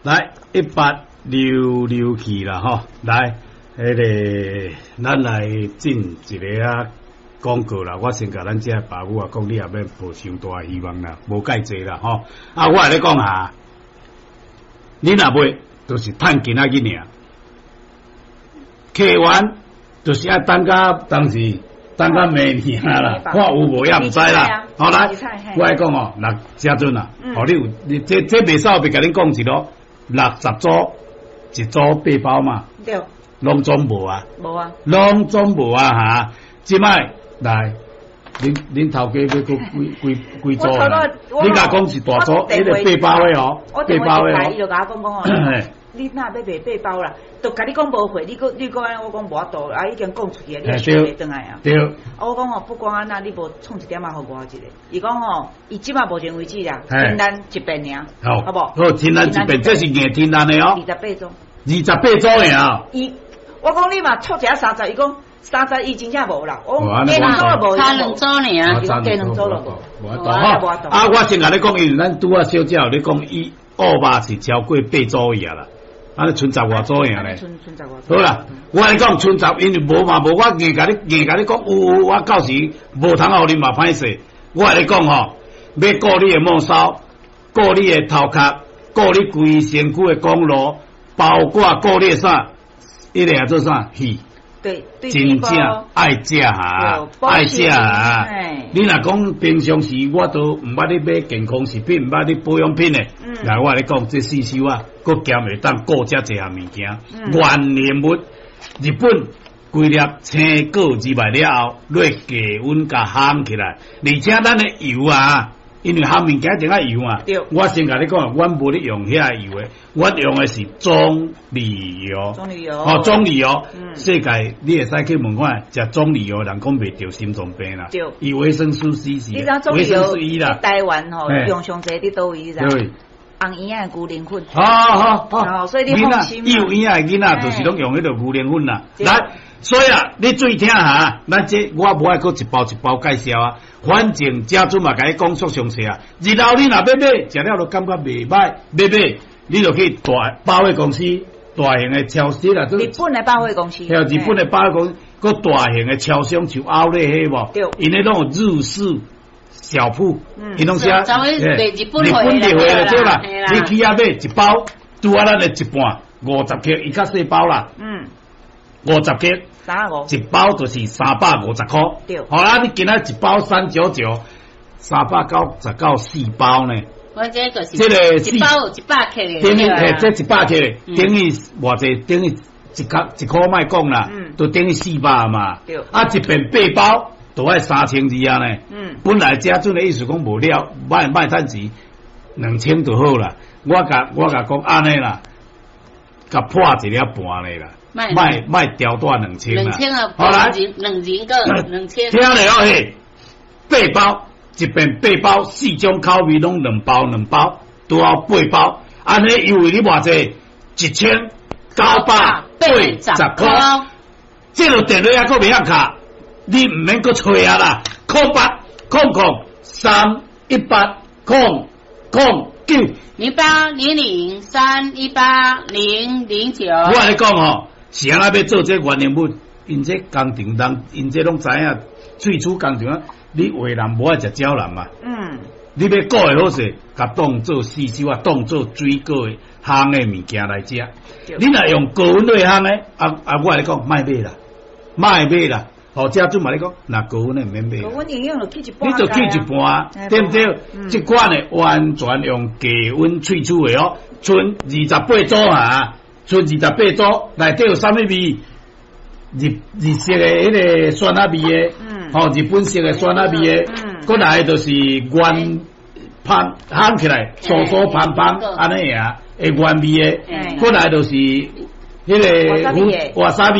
來1866去啦吼，來，彼个咱來進一个啊廣告啦。我先共咱遮爸母啊講，你也免抱傷大希望啦，無蓋濟啦吼。啊，我來咧講啊，你若買，就是趁今仔日爾，客源就是愛等到當時，等到明年啦，看有無也毋知啦。好來，我來講哦，六遮陣啊，哦，你有你這這袂使別共恁講一囉，60組一組八包嘛，對，攏總無啊，無啊，攏總無啊哈。這擺來，恁恁頭家欲閣幾幾幾組啊？你共講是大組，彼個八包的哦，八包的哦。伊就共我講講哦，你若欲賣八包啦，就共你講無貨，你閣你閣按呢，我講無法度，啊已經講出去啊，你也收袂轉來啊。對。啊我講吼，不管按怎，你無創一點仔予我一下。伊講吼，伊這擺目前為止啦，天然一遍爾，好，好無？好，天然一遍，這是硬天然的哦。28組。28組爾。伊，我講你嘛湊一下三十，伊講三十伊真正無啦。我講加兩組就無。差兩組爾。伊講加兩組就無。無法度吼。啊，我先共你講，因為咱拄仔小姐有咧講，伊澳肉是超過八組爾啦。按呢賰十外組爾咧。賰十外組。好啦，我共你講賰十，因為無嘛無，我硬共你硬共你講有有，我到時無通予你嘛歹勢。我共你講吼，欲顧你的末梢，顧你的頭殼，顧你規身軀的公路，包括顧你的啥，彼个叫做啥？魚。對，真正愛食哈，愛食哈。你若講平常時，我都毋捌咧買健康食品，毋捌咧保養品的。來，我共你講，這四修啊，閣兼會當顧遮濟項物件。原研物，日本規粒青果入來了後，落低溫共烘起來，而且咱的油啊，因為烘物件一定愛油嘛。我先共你講，阮無咧用遐油的，阮用的是棕櫚油。棕櫚油。哦，棕櫚油。世界你會使去問看，食棕櫚油人講袂著心臟病啦。對。伊維生素 C 是你知影棕維生櫚素 E 啦。台灣吼用上濟佇佗位你知？紅圓仔的牛奶粉。好好好。所以你放心。幼嬰仔的囡仔就是攏用彼个牛奶粉啦。來，所以啊，你注意聽哈，咱這我無愛閣一包一包介紹啊。反正遮陣嘛，共你講足詳細啊。日後你若欲買，食了都感覺袂䆀，欲買你就去大百貨公司、大型的超市啦。日本的百貨公司。對，日本的百貨公司，閣大型的超商像奧萊彼無？對。𪜶彼攏有日式小鋪，𪜶攏寫日本日本入貨就對啦。你去遐買一包，拄仔咱的一半50克，伊較細包啦。50克。三五。一包就是350箍。對。好啦，你今仔一包399，399四包呢。我這個是這個一包有100克的。等於嘿，這100克的，等於偌濟，等於一克一箍莫講啦，就等於400嘛。對。啊，一遍八包都愛3200啊呢。本來這陣的意思講無了，莫莫趁錢，2000就好啦。我共講按呢啦，共破一粒半咧啦。莫莫調大2000啦。兩千啊，好來，兩人個兩千。聽咧哦嘿，八包一遍八包，四種口味攏兩包兩包，拄好八包。按呢優惠你偌濟？1980箍。這個電話猶閣袂曉敲，你毋免閣揣啊啦。0800 318 009。 0800318009。我共你講吼，是按怎欲做這原研物？𪜶這工廠人，𪜶這攏知影，萃取工廠啊，你話人無愛食蕉人嘛？你欲顧會好勢，共當做四手啊，當做水果的烘的物件來食。你若用高溫來烘的，啊啊！我共你講，莫買啦，莫買啦。吼，遮陣嘛咧講，若高溫的毋免買。高溫營養就去一半。你就去一半，對毋對？這款的完全用低溫萃取的哦，賰28組啊，賰28組，內底有啥物味？日日式的彼个酸仔味的，吼，日本式的酸仔味的，閣來就是原芳烘起來，酥酥芳芳，按呢爾，會原味的，閣來就是彼个瓦薩比。